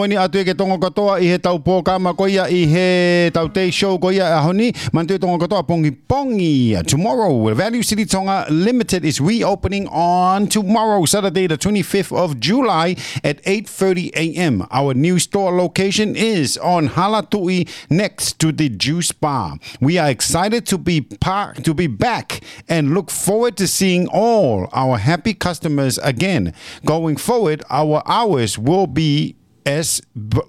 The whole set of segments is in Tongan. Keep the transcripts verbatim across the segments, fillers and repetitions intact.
Poini atu e ke Tonga kotoa ʻi he tau pōkama ko ia ʻi he tau day show ko ia ʻaho ni. Manatu e Tonga kotoa pongipongi. Tomorrow, Value City Tonga Limited is reopening on tomorrow, Saturday the twenty-fifth of July at eight thirty a m. Our new store location is on Halatuʻi next to the juice bar. We are excited to be par- to be back and look forward to seeing all our happy customers again. Going forward, our hours will be as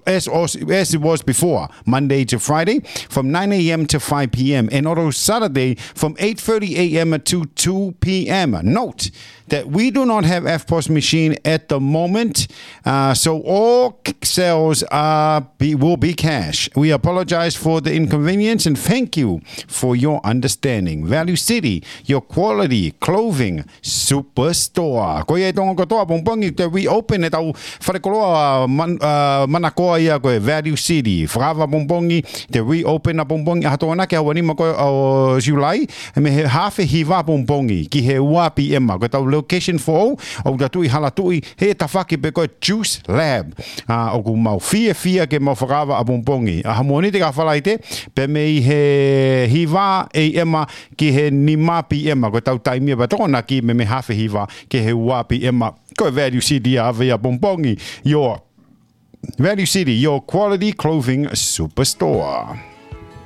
as as it was before, Monday to Friday from nine a m to five p m, and also Saturday from eight thirty a m to two p m. Note that we do not have F pos machine at the moment, uh, so all sales are be, will be cash. We apologize for the inconvenience and thank you for your understanding. Value City, your quality clothing superstore. Ko ia e Tonga kotoa pongipongi te reopen e tau fale koloa man, uh, manakoa ia ko e Value City. Fakaava pongipongi te reopen ʻapongipongi ʻaho Tokonaki ʻaho nima ko ē ʻo July, mei he hafe hiva pongipongi ki he ua p m. Ko e tau location foʻou ʻoku tau tuʻu ʻi Halatuʻi he tafaʻaki pē ko e Juice Lab. ʻA, ʻoku mau fiefia ke mau fakaava ʻapongipongi ʻaho Mōnite ki he Falaite, pea mei he hiva a m ki he nima p m. Ko e tau taimi pē Tokonaki mei he hafe hiva ki he ua p m. Ko e Value City ʻa ʻave ʻapongipongi. Your Value City, your quality clothing superstore.